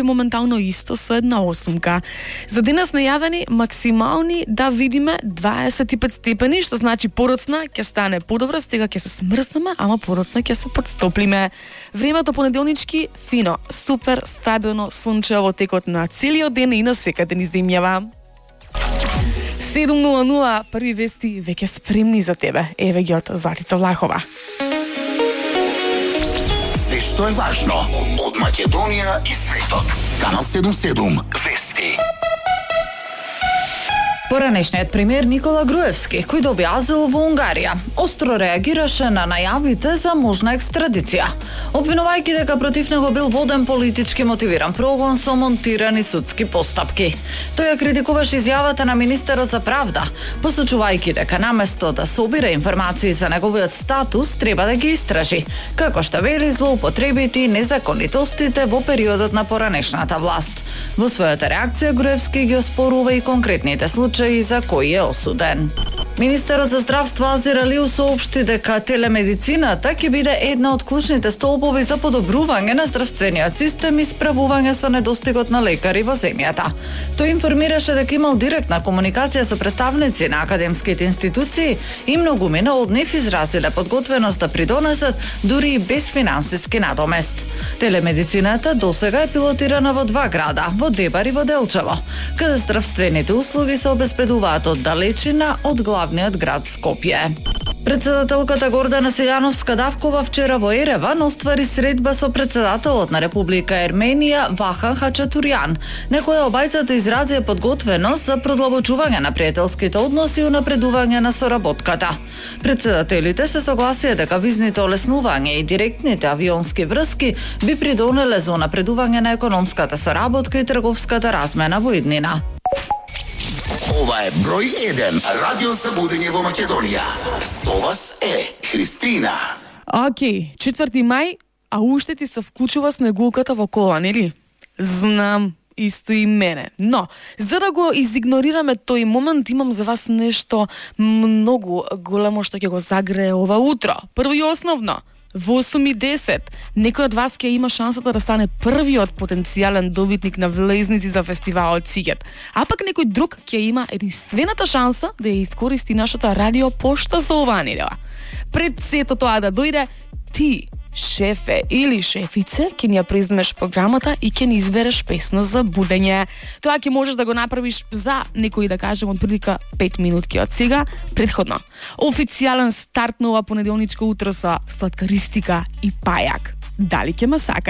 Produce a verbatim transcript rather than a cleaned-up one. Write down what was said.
моментално исто со една осумка. За денес најавени максимални да видиме дваесет и пет степени, што значи подоцна ќе стане подобра, стега ќе се смрзнеме, ама подоцна ќе се подстоплиме. Времето понеделнички фино, супер стабилно сончево во текот на целиот ден и на секаде низ земјава. седум нула нула, први вести веќе спремни за тебе. Еве ги од Златица Влахова. Се што е важно од Македонија и светот. Канал седум седум вести. Поранешниот премиер Никола Груевски, кој доби азил во Унгарија, остро реагираше на најавите за можна екстрадиција, обвинувајќи дека против него бил воден политички мотивиран прогон со монтирани судски постапки. Тој ја критикуваше изјавата на министерот за правда, посочувајќи дека наместо да собира информации за неговиот статус, треба да ги истражи, како што вели злоупотребите и незаконитостите во периодот на поранешната власт. Во својата реакција Груевски ги оспорува и конкретните случаи за кои е осуден. Министерот за здравство Азир Алиу соопшти дека телемедицината ќе биде една од клучните столбови за подобрување на здравствениот систем и справување со недостигот на лекари во земјата. Тој информираше дека имал директна комуникација со представници на академските институции и многумина од нив изразиле подготвеност да придонесат дури и без финансиски надомест. Телемедицината досега е пилотирана во два града, во Дебар и во Делчево, каде здравствените услуги се обезбедуваат од далечина од главниот град Скопје. Председателката Гордана Силјановска-Давкова вчера во Ереван оствари средба со председателот на Република Ерменија Вахан Хачатурјан, на која обајцата изрази подготвеност за продлабочување на пријателските односи и унапредување на соработката. Председателите се согласија дека визните олеснување и директните авионски врски би придонеле за унапредување на економската соработка и трговската размена во иднина. Ова е број еден радио за будење во Македонија. Со вас е Христина. Океј, четврти мај, а уште ти се вклучува снегулката во кола, нели? Знам, исто и мене. Но, за да го изигнорираме тој момент, имам за вас нешто многу големо што ќе го загрее ова утро. Прво и основно, во осум и десет, некој од вас ќе има шансата да стане првиот потенцијален добитник на влезници за фестивалот Сигет. А пак некој друг ќе има единствената шанса да ја искористи нашата радио пошта за оваа недела. Пред сето тоа да дојде, ти, шефе или шефице, ќе ни ја преземеш програмата и ќе ни избереш песна за будење. Тоа ќе можеш да го направиш за некој, да кажем, од прилика пет минутки од сега, предходно. Официјален старт на ова понеделничко утро со сладкаристика и пајак. Дали ќе ме сака?